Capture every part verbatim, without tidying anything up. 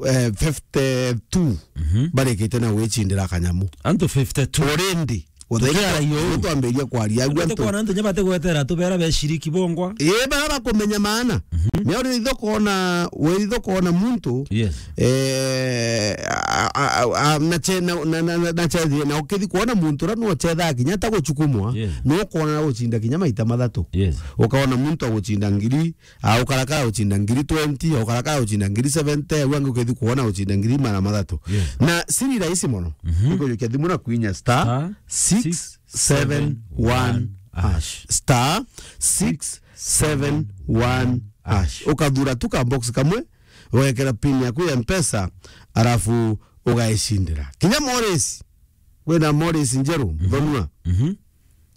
eh, fifty-two Mhm. barikite na gwicindira kanyamu. Antu fifty-two. Already. Tukiara yo. Twambiria kwaria, agu Antu antu kwana antu nyabate gwetera tubera beciriki bongwa. Ii, bara bakumenya maana. Mhm. Ni uri itho kona, we itho kona muntu, Yes. eh, a, a, a, a, na che-, na, na, na, na, na chethi, na ukithi kwona muntu ra no chetha kinya ta guchukumwa, Yes. no kona guchinda kinya maita mathatu. Yes. Ukaona muntu aguchinda ngiri, a, ukarakara guchinda ngiri twenty, ukarakara guchinda ngiri seventy, au angi ukithi kwona guchinda ngiri magana mathatu. Yes. Na siri rahisi mono. Mhm. Ni kujukia thimu na kwinya star Star six seven one hash. Star six seven one hash. Ukathura tu ka box kamwe, ugekera pin yaku ya Mpesa, arafu ugaicindira. Kinya Morris, wina Morris njeru, Mhm. Muthonua. Mhm.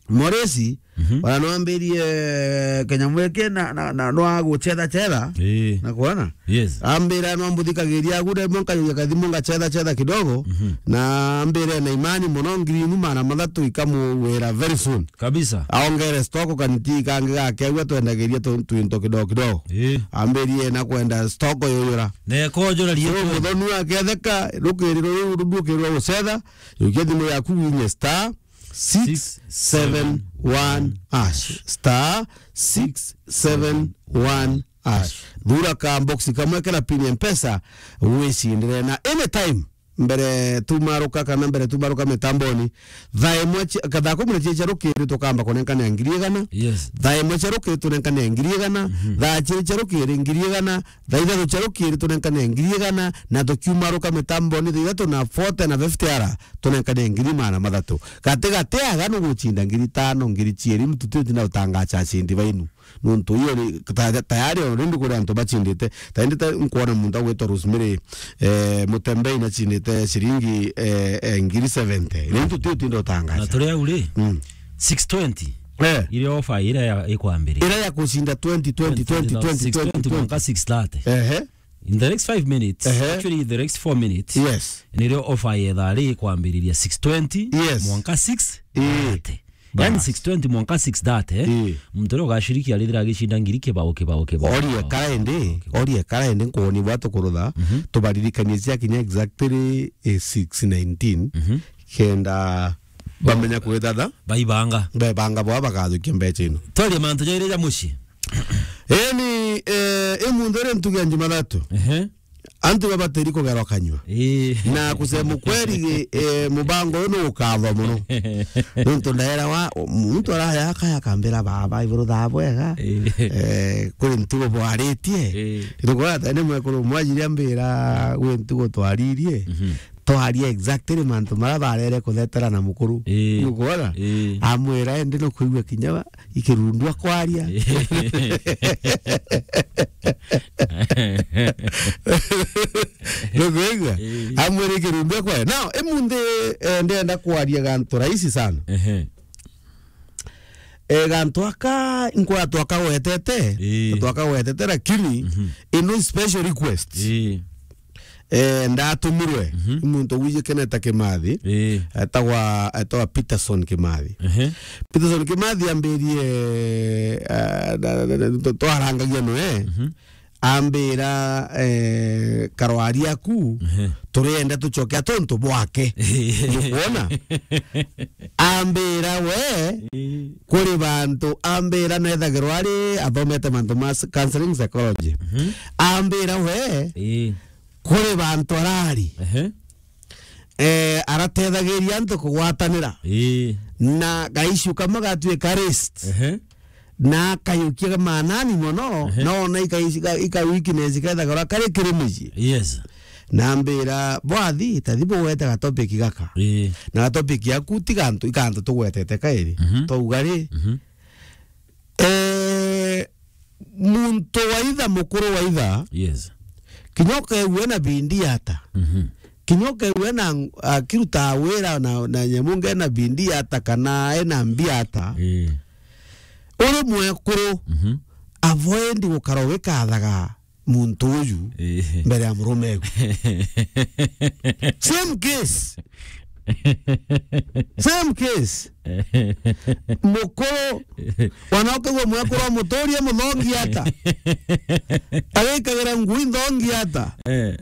Morris, Mhm. ona nwambirie kanyamu giki na, na, na, nwa guchetha chetha, Ii. na kwona? Yes. Ambira nwambuthikagiria agu, rimwe nkajukia kathimu ngachetha chetha kidogo, Mhm. na ambire na imani mono, ngiri imu magana mathatu ikamuwira very soon. Kabisa. Aongere stock kaniti kangi gake, agu atwendagiria tu-, twinto kidogo kidogo. Ii. Ambirie na kwenda stock yuyura. Na ekojura So, rietwe. Muthonua aketheka, rukiri ruu rukiri rwa gucetha, jukia thimu yaku winye star six seven one hash. Star six seven one hash. Thura ka box kamwe kena pin ya Mpesa, wicindire na anytime mbere tumaruka kana mbere tumaruka mitamboni, thaa imwe cia, ka thaa kumi na cia rukiri tukamba kunenkania ngiri igana. Yes. Thaa imwe cia rukiri tunenkania ngiri igana. Mhm. Thaa ciiri cia rukiri ngiri igana. Thaa ithatu cia rukiri tunenkania ngiri igana. Na tukiumaruka mitamboni thaa ithatu na forty na fifty ara, tunenkania ngiri magana mathatu. Gati gati aga nugucinda ngiri tano, ngiri ciiri, mtu ti utinda utangacha acindi bainu. Nontu iyo ni, ta-, tayari already kuri antu bacindite. Ta indi ta nkwona muntu agwitwa Rosemary, eh, Mutembei nacindite ciringi, eh, eh, ngiri seventy. Ni ntu ti utinda utangacha. Na turi au ri, Mm. six twenty. Eh. Iri offer ira ya, ikwambiriria. Ira ya kucinda twenty, twenty, twenty, twenty, six twenty, twenty, twenty. Mwanka six thirty. Ehe. In the next five minutes, Ehe. actually, in the next four minutes, Yes. nirio offer ya thaa ri ikwambiriria six twenty, Yes. mwanka six thirty. Ii. Yani Bas. six twenty mwanka six thirty, eh? Ii. Muntu uria ugaciriki arithira agicinda ngiri kibao, kibao, kibao, Orie kibao. Kara indi, Kibao. orie kara indi nkuoni bwa tukurutha, Mhm. tubaririkanie cia kinya exactly, eh, six nineteen, Mhm. kenda bamenya kwithatha. Baibanga. Bebanga bwa bakathukia mbecha ino. Twarie mantu jairi ja mucii. Eni, eh, imunthi ri ntugi ya Jumathatu. Ehe. Antu babatiri kugerwa kanyua. Ii. Na kusema ukweli, eh, mubango uyu nugukathwa muno. Nontu ndaera wa, muntu araya akaya akambira baba, iburu thaa bwega. Ii. Eh, kuri ntugo bwaritie. Ii. Nigukwona ta ni mwekuru umwe ajiri ambira gwi ntugo twaririe. Mhm. Twaria exactly mantu maria barere kuthetera na mukuru. Ii. Nukwona? Ii. Amwira, "Indi nukwigua kinya ba-, ikirundu akwaria." Nukwigua? Ii. Amwira ikirundu akwaria. Now, imunthi, eh, ndenda kwaria gantu rahisi sana. Ehe. Eh, gantu aka, nkwa twakagwetete, Ii. twakagwetete, lakini Mhm. ino special request. Ii. Eh, ndatumirwe Mhm. ni muntu wijikeneta Kimathi, Ii. etagwa, etagwa Peterson Kimathi. Ehe. Peterson Kimathi ambirie, eh, na, na, na, tw-, twarangagia noe, Mhm. ambira, eh, karwari aku, Ehe. turienda tucoke atontu bwake. Nukwona? Ambira we, Ii. kuri bantu, ambira nethagirwa ari athomete mantu ma s-, counseling psychology. Mhm. Ambira we, Ii. kuri bantu arari, Ehe. eh, aratethagiria antu kugwatanira. Ii. Na gaishu kamwe gatuika rest. Ehe. Na akayukia manani mono, Ehe. na ona ika-, ika-, ika weakness kethagirwa kari kiri mucii. Yes. Na ambira, "Bwathi, tathi bugwete gatopic gaka." Ii. Na gatopic yaku ti gantu, ikantu tugwetete kairi. Mhm. Twauga ri, Mhm. eh, muntu waitha, mukuru waitha, Yes. kinya ukegua ena bindi ata. Mhm. Kinya ukegua ena, akiruta wira na, na nyamu nge ena bindi ata kana ena mbia ata. Ii. Uri mwekuru, Mhm. avoid gukara ugikathaga muntu uju Ii. mbere ya murume egu. Same case. Same case. Mukuru, wana ukigua mwekuru amuturie muthongi ata. Agikagira ngui nthongi ata. Eh.